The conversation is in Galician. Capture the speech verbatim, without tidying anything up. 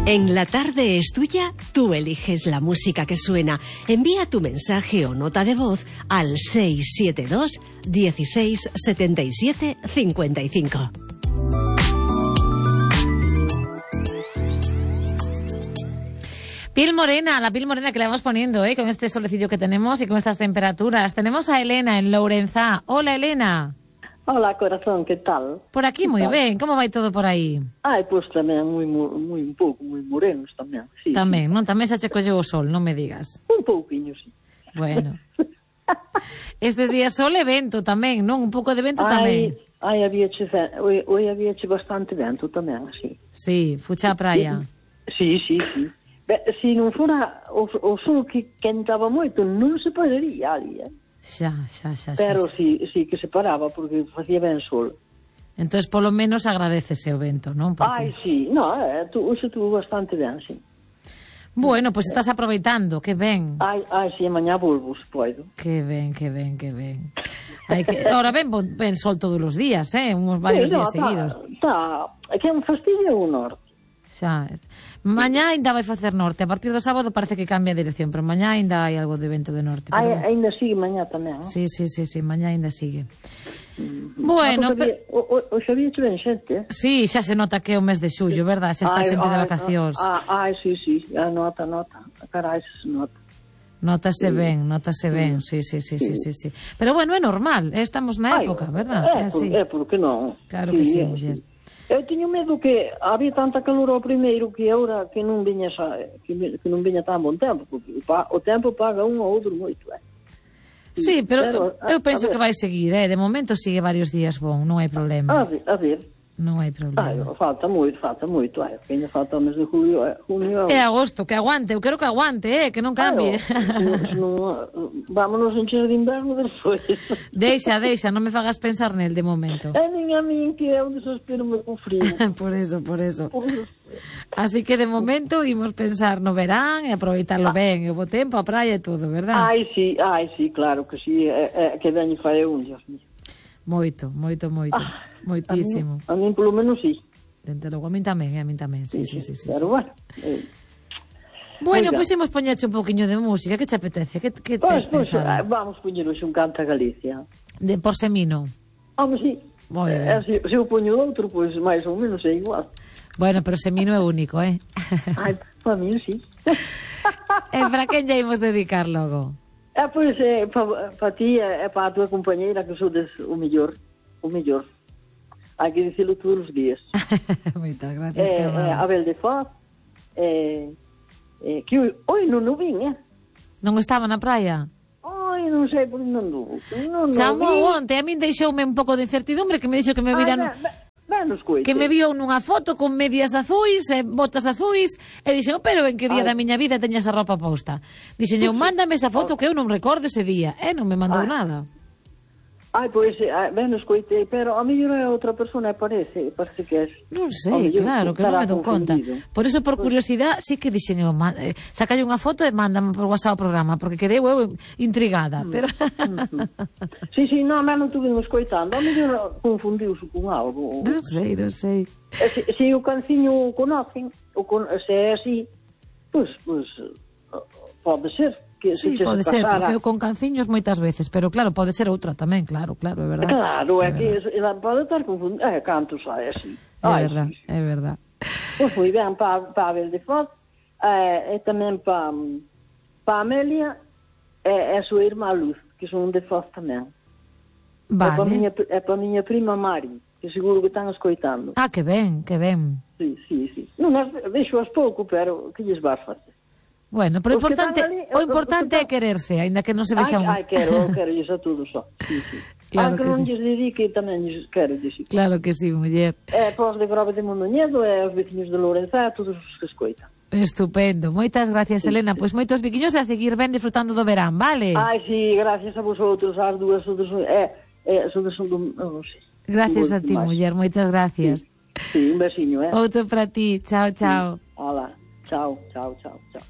En La Tarde es Tuya, tú eliges la música que suena. Envía tu mensaje o nota de voz al seis siete dos, dieciséis, setenta y siete, cincuenta y cinco. Piel morena, la piel morena que le vamos poniendo, ¿eh? Con este solecillo que tenemos y con estas temperaturas. Tenemos a Elena en Lourenzá. Hola, Elena. Hola, corazón, que tal? Por aquí moi ben, como vai todo por aí? Ai, pois tamén moi, moi un pouco, moi morenos tamén. Sí, tamén, sí. Non? Tamén xa che colleu o sol, non me digas. Un pouquiño, sí. Bueno. Estes días sol e vento tamén, non? Un pouco de vento ai, tamén. Ai, habíache, oi, oi habíache bastante vento tamén, sí. Sí, fucha a praia. Sí, sí, sí. Be, se non fora o, o sol que quentaba moito, non se podería ali, eh? Xa, xa, xa, xa. Pero sí, sí que se paraba porque facía ben sol. Entonces, polo menos agradecese o vento, non? Porque... Ai, sí, no, eh, tu, uso tuvo bastante ben, sí. Bueno, pois pues estás aproveitando, que ben. Ai, ai, si, sí, mañá volvo, se poido. Que ben, que ben, que ben. Hai que... Ahora ben, ben sol todos os días, eh? Uns varios sí, no, días tá, seguidos. Tá, é que é un fastidio o norte. Xa. Mañá ainda vai facer norte. A partir do sábado parece que cambia a dirección, pero mañá ainda hai algo de vento de norte. Ai, pero... ainda sigue mañá tamén, non? Sí, sí, sí, sí, mañá ainda sigue. Mm-hmm. Bueno, ah, pero... O, o, o xa viche ben xente, eh? Sí, xa se nota que é o mes de xullo, verdad? Xa está ai, xente ai, de vacacións. Ai, ai, sí, sí, a nota, nota. Carai, se nota. Notase sí. ben, notase ben, sí, sí, sí, sí, sí, sí. Pero bueno, é normal, estamos na época, ai, verdad? É, é, así. por, é porque non. Claro sí, que sí, é, muller. Sí. Eu teño medo que había tanta calor ao primeiro que agora que non viña xa, que, que non viña tan bon tempo, porque o tempo paga un ou outro moito, eh. Sí, pero, pero eu penso que vai seguir, eh, de momento sigue varios días bon, non hai problema. A ver, a ver. Non hai problema. Ai, falta moito, falta moito, ai, que ainda falta o mes de julio, eh, junio. É agosto, que aguante, eu quero que aguante, eh, que non cambie. Ai, no, no, vámonos encher de inverno despois. Deixa, deixa, non me fagas pensar nel de momento. É nin a min que é un desespero me con frío. Por eso, por eso. Así que de momento imos pensar no verán e aproveitarlo ah. ben, o bo tempo, a praia e todo, verdad? Ai, sí, ai, sí, claro que sí, é, é, que veño fai un, Dios mío. Moito, moito, moito. Ah, moitísimo. A min, a min polo menos sí. Dente logo, a min tamén, a min tamén. Sí, sí, sí, sí, sí, pero sí. bueno. Eh. Bueno, pois pues imos poñerche un poquinho de música, que te apetece? Que, que pues, tes pues, pensado? Vamos poñer hoxe un canta Galicia. De por Semino. Home, sí. Eh, se, se eu poño outro, pois pues, máis ou menos é igual. Bueno, pero Semino é único, eh? Ai, para mí sí. E para quen lle imos dedicar logo? É, pois, é, para pa ti e para a tua compañeira que sodes o mellor, o mellor. Hai que dicilo todos os días. Moitas gracias, eh, que amable. Eh, Abel de Foz, eh, eh, que oi non o vin, eh? Non estaba na praia? Ai, non sei por onde anduvo. Non, non Chamou onte, a min deixoume un pouco de incertidumbre que me dixo que me viran... Ah, que me viu nunha foto con medias azuis e botas azuis e dixen, pero en que día Ay. da miña vida teña esa ropa posta? Dixen, eu mándame esa foto que eu non recordo ese día e non me mandou Ay. nada. Ai, pois, ben escoitei, pero a mellor é outra persona, parece, parece que é... Non sei, claro, que non me dou conta. Por eso, por curiosidade, sí que dixen eu, eh, sacalle unha foto e mándame por WhatsApp o programa, porque quedei eu intrigada, pero... Sí, sí, non, mas non tuve escoitando, a mellor confundiuse con algo. Non sei, non sei. Se, se o canciño o conocen, o con, se é así, pois, pois, pode ser. Que sí, se pode ser, porque eu con canciños moitas veces, pero claro, pode ser outra tamén, claro, claro, é verdad. Claro, é, é que ela pode estar confundida, é, cantos hai así. É Ai, verdad, sí. é verdad. Pois foi ben para pa Abel de Foz, eh, e tamén para pa Amelia e, e a súa irmá Luz, que son de Foz tamén. Vale. É para miña, é pa miña prima Mari, que seguro que están escoitando. Ah, que ben, que ben. Sí, sí, sí. Non, deixo as pouco, pero que lles vas facer? Bueno, pero importante, ali, o importante é quererse, aínda que non se vexa un... Ai, ai, quero, quero lles a todos só. Sí, sí. Claro Aunque que non sí. lles dedique, tamén lles quero dicir. Claro que sí, muller. É, pos de Grove de Mondoñedo e os veciños de Lourenzá, todos os que escoitan. Estupendo, moitas gracias, sí, Elena. Pois pues moitos biquiños a seguir ben disfrutando do verán, vale? Ai, sí, gracias a vosotros, as dúas, todos, é, é, todos son do... Non sei. Gracias a ti, máis. Muller, moitas gracias. Sí, sí, un besiño, eh? Outro para ti, chao, chao. Sí. Hola, chao, chao, chao, chao.